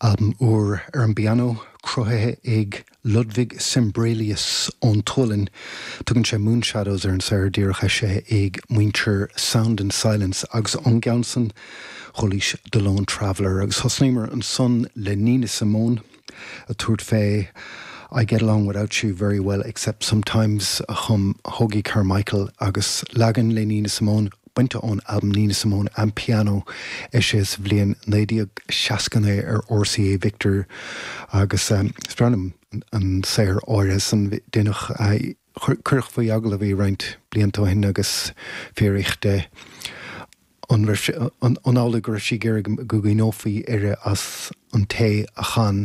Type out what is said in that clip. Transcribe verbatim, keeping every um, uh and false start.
Albam úr ar an bpianó cruthaithe ag Ludwig Sembrelius ón tSualainn. Tugann sé Moonshadows ar an saothar díreach eisithe ag muintir Sound and Silence agus ón gceann san chualaís The Lone Traveller agus thosnaíomar ansan le Nina Simone ag tabhairt fé I get along without you very well except sometimes a chum Hoagy Carmichael agus leagan le Nina Simone bainte ón album Nina Simone and Piano eisithe sa bhliain naoi déag seasca naoi ar RCA Victor agus um, is breá liom an saothar áirithe san déanach cuireadh faoi agallamh í roinnt blianta ó shin agus fiafraíodh di an an amhlaidh go raibh sí ag iarraidh go gcuimhneofaí uirthi as an té a chan